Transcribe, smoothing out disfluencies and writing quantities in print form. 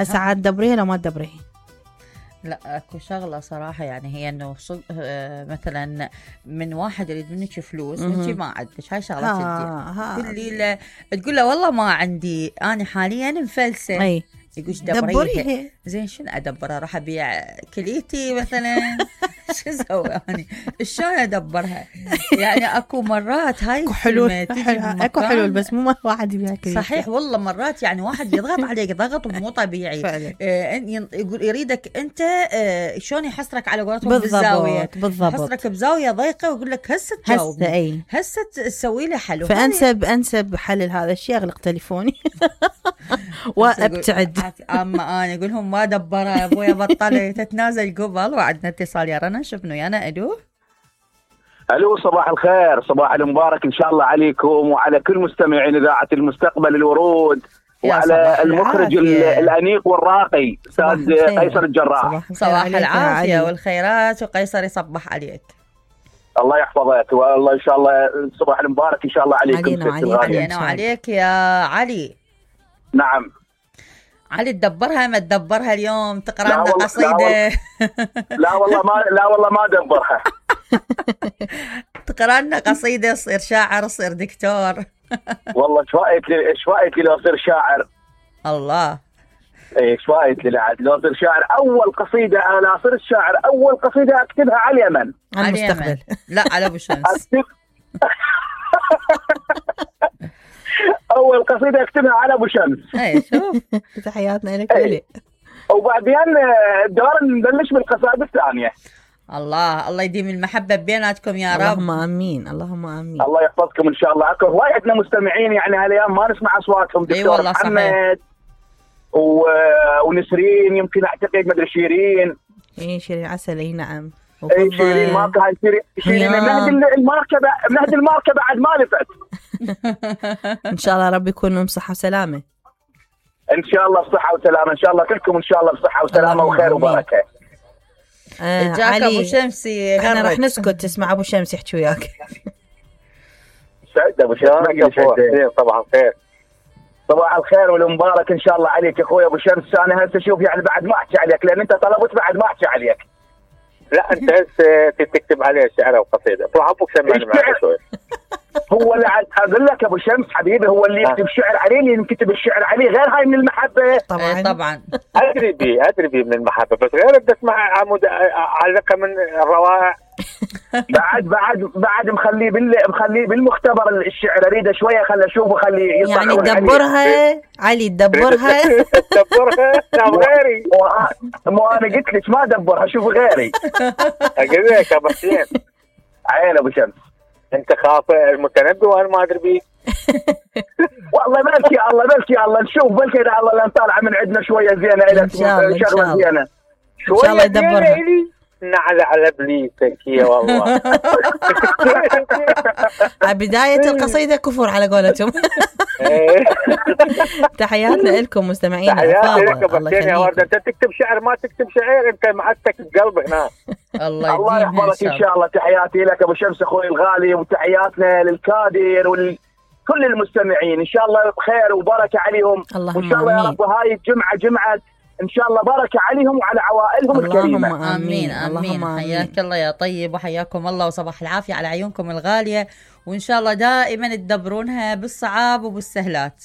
هسه عاد تدبريها لو ما تدبريها؟ لا اكو شغله صراحه، يعني هي انه مثلا من واحد يريد منك فلوس وانت ما عندك، هاي شغله تدي تقول له والله ما عندي، انا حاليا مفلسه. اي يقول دبريها. زين شنو ادبرها؟ راح ابيع كليتي مثلا؟ شو اسوي يعني؟ شلون ادبرها؟ يعني اكو مرات هاي اكو حلول، اكو حلول، بس مو واحد يبيع كليتي. صحيح والله، مرات يعني واحد يضغط عليك ضغط مو طبيعي فعلا. يقول يريدك انت شلون يحصرك على قولتهم بالضبط. يحصرك بزاويه ضيقه ويقول لك هسه تجاوبني، هسه تسوي لي حل. فانسب حل لهذا الشيء اغلق تليفوني وابتعد. اما انا اقول لهم ما دبرها ابويا، بطلي تتنازل قبل. وعندنا اتصال يا رنا، شوفني يانا. الو صباح الخير، صباح المبارك ان شاء الله عليكم وعلى كل مستمعين اذاعه المستقبل الورود، وعلى المخرج الانيق والراقي استاذ قيصر الجراح. صباح العافيه والخيرات، وقيصر يصبح عليك. الله يحفظك والله ان شاء الله. صباح المبارك ان شاء الله عليكم. علينا وعليك يا علي. نعم علي، تدبرها ما تدبرها اليوم؟ تقرا لنا قصيده؟ لا والله ما دبرها. تقرا لنا قصيده، تصير شاعر، تصير دكتور. والله ايش رايك لو اصير شاعر؟ الله، ايش رايك لو اصير شاعر؟ اول قصيده انا اصير الشاعر، اول قصيده اكتبها على اليمن. على المستقبل؟ لا على ابو شمس. اول قصيده اكتبها على ابو شمس. اي شوف، تحياتنا لك علي. وبعدين الدور نبلش بالقصائد الثانيه. الله يديم المحبه بيناتكم يا رب. اللهم امين، اللهم امين. الله يحفظكم ان شاء الله. اكو هواي عندنا مستمعين يعني هالايام ما نسمع اصواتهم. دكتور محمد ونسرين، يمكن اعتقد مدري شيرين. شيرين عسل. اي نعم. شيرين ما كان شيرين مهد الماركه بعد ما لفت. ان شاء الله رب يكونوا بصحه وسلامه. ان شاء الله بصحه وسلامه، ان شاء الله كلكم ان شاء الله بصحه وسلامه وخير وبركه. جاك ابو شمسي، احنا راح نسكت تسمع ابو شمس يحكي وياك. سعد ابو شمس. صباح الخير. صباح الخير والمبارك ان شاء الله عليك يا اخوي ابو شمس. انا هسه شوف يعني بعد ما احكي عليك، لان انت طلبت بعد ما احكي عليك. لا انت هسه تكتب عليه شعر وقصيده، روح ابوك سمعني معك شوي. هو اللي اقول لك ابو شمس حبيبي، هو اللي يكتب شعر عليه، اللي ينكتب الشعر عليه غير هاي من المحبه. طبعا ادري بي من المحبه، بس غير بدي اسمع عمود علقه من الروائع. بعد مخليه بالمختبر الشعر، اريده شويه خلي اشوفه، خليه يعني تدبرها علي، تدبرها. تدبرها غيري. مو انا قلت لك ما دبرها، شوف غيري. اقول لك ابو حسين، عين ابو شمس، انت خاف المتنبي وانا ما ادري بيك. والله بلكي الله نشوف، بلكي الله لان طالعه من عندنا شويه زينه الى شغله زينه، شويه دبرها. نعل على بليتك يا والله. بداية القصيدة كفر على قولتهم. تحياتنا لكم مستمعين. تحياتي لك الله يخليك. انت تكتب شعر ما تكتب شعر، انت معتك القلب هنا. الله يحفظك ان شاء الله. تحياتي لك ابو شمس اخوي الغالي، وتحياتنا للكادر وكل المستمعين، ان شاء الله بخير وبركه عليهم. وان شاء الله يا رب هاي الجمعه جمعه ان شاء الله بركه عليهم وعلى عوائلهم الكريمه. اللهم امين. اللهم حياك الله يا طيب، وحياكم الله، وصباح العافيه على عيونكم الغاليه، وان شاء الله دائما تدبرونها بالصعاب وبالسهلات.